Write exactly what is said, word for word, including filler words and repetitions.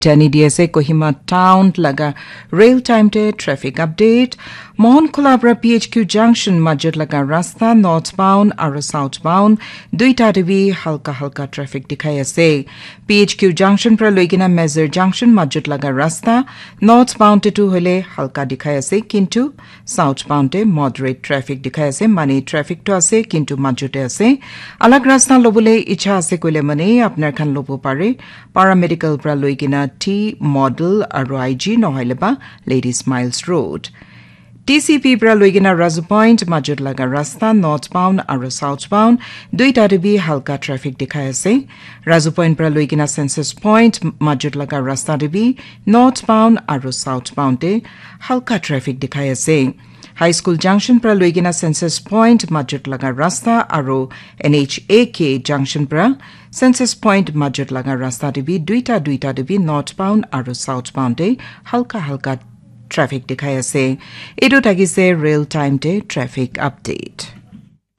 Tani di ase Kohima town laga real time te traffic update. Mohan Khula pra P H Q junction majut laga rasta northbound aru southbound duita te bi halka halka traffic dikhai ase. P H Q junction pra loikena Mezur junction majut laga rasta northbound te tu hoile halka dikhai ase, kintu southbound te moderate traffic dikhai ase, mane traffic to ase kintu majute ase. Alag rasta lobole icha ase koile mane apnar khan lobo pare. Paramedical pra loikena T Model aru I G nohoile ba Ladies Miles Road. T C P pra loikena Razu Point majut laga rasta northbound aru southbound duita te bi halka traffic dikhai ase. Razu Point pra loikena Census Point majut laga rasta te bi northbound aru southbound te halka traffic dikhai ase. High School junction pra loikena Census Point majut laga rasta aru N H A K junction pra Census Point majut laga rasta te bi duita duita te bi northbound aru southbound te halka halka traffic dikhai ase. Etu thakise real time te traffic update.